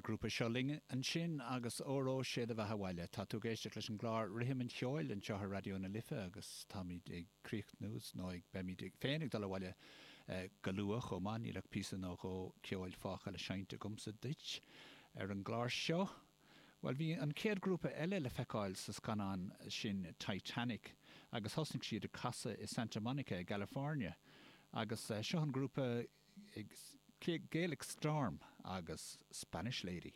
Grúpa Seo Linn ansin agus Óró Sé do Bheatha Abhaile. Tá tú ag éisteacht leis an gclár Rithim an Cheoil anseo ar Raidió na Life agus táimid ag críochnú nó ag beimid féin ag dul abhaile go luath chomh maith. Níl ach píosa nó dhó ceoil fágtha le seinnt agamsa duit ar an gclár seo. Bhuel, bhí an chéad ghrúpa eile le feiceáil sa scannán sin Titanic agus thosnaigh siad ag casadh i Santa Monica i gCalifornia agus seo an grúpa Gaelic Storm agus Spanish Lady.